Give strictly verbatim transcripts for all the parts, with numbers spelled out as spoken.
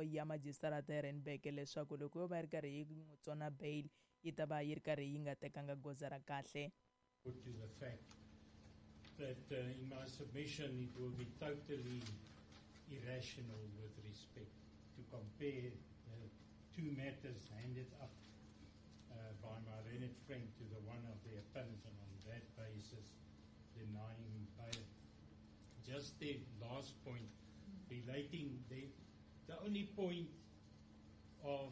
Ya majistarata ya Randburg leswaku loko yo va yi ri karhi yi n'wi tsona bail yi ta va yi ri karhi yi nga tekanga goza ra kahle. To the fact that uh, in my submission it will be totally irrational with respect to compare the two matters handed up uh, by my learned friend to the one of the appellant, and on that basis denying bail. Just the last point relating the, the only point of,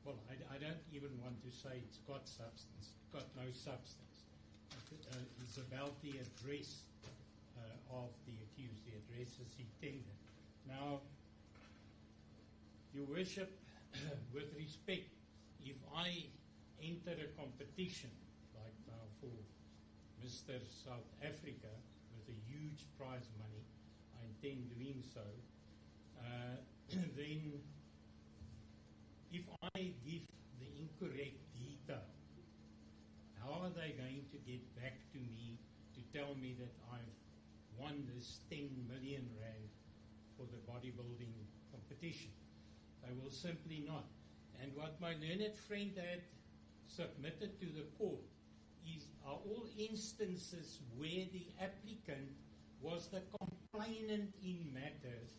well, I, I don't even want to say it's got substance, it's got no substance. Uh, it's about the address uh, of the accused, the addresses he tendered. Now, Your Worship, with respect, if I enter a competition, like now for Mister South Africa, with a huge prize money, I intend doing so, uh, then if I give the incorrect detail, how are they going to get back to me to tell me that I've won this ten million rand for the bodybuilding competition? They will simply not. And what my learned friend had submitted to the court is are all instances where the applicant was the complainant in matters,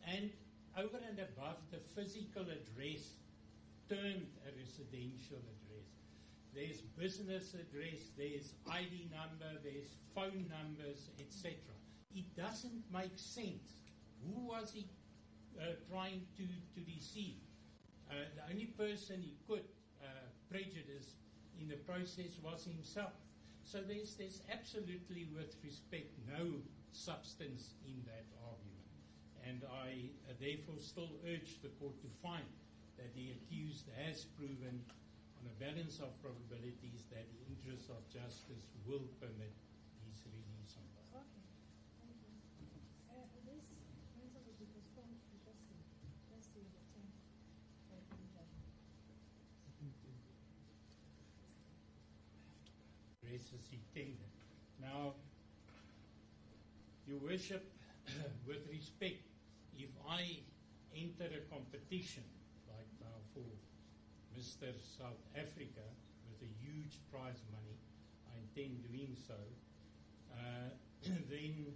and over and above the physical address termed a residential address. There's business address, there's I D number, there's phone numbers, et cetera. It doesn't make sense. Who was he uh, trying to, to deceive? Uh, the only person he could uh, prejudice in the process was himself. So there's, there's absolutely, with respect, no substance in that argument. And I uh, therefore still urge the court to find that the accused has proven on a balance of probabilities that the interests of justice will permit his release on bail. Okay, thank you. Uh, this matter will be postponed to Thursday, Thursday the tenth, for judgment. Addresses he tendered. Now, Your Worship, with respect, if I enter a competition, like now for Mister South Africa, with a huge prize money, I intend doing so, uh, then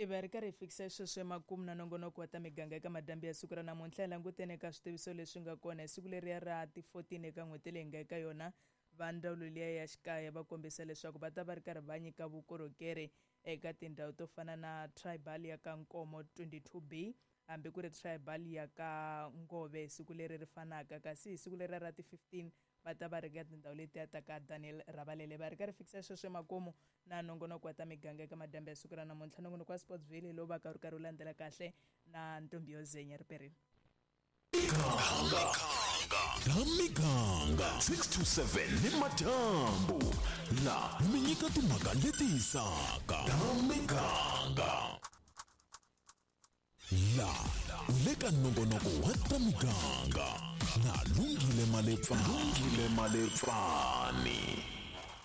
I va ri karhi hi fikisa sweswo emakumu na nongonoko wa ta miganga eka madyambu ya siku ra namuntlha. Hi langutene eka switiviso leswi nga kona hi siku leriya ra ti fourteen eka n'hweti leyi nga eka yona. Va ndzawulo liya ya xikaya va kombisa leswaku va ta va ri karhi va nyika vukorhokeri eka tindhawu to fana na tribal ya ka Nkomo twenty-two B, hambi ku ri tribal ya ka Ngove siku leri ri fanaka. Kasi hi siku leri ra ti fifteen va ta va ri ka tindhawu letiya ta ka Daniel Rabalele. Va ri karhi fikisa sweswo emakumu na nongonoko wa ta miganga eka madyambu ya siku ra namuntlha. Nongonoko wa Sportsville lowu va ka wu ri karhi wu landzela kahle na Ntombi yo Zenya Riperini. Ta miganga six to seven ni madyambu la mi nyika timhaka leti hisaka. Ta miganga la u le ka nongonoko wa ta miganga na Lungile Malepfani. Lungile Malepfani.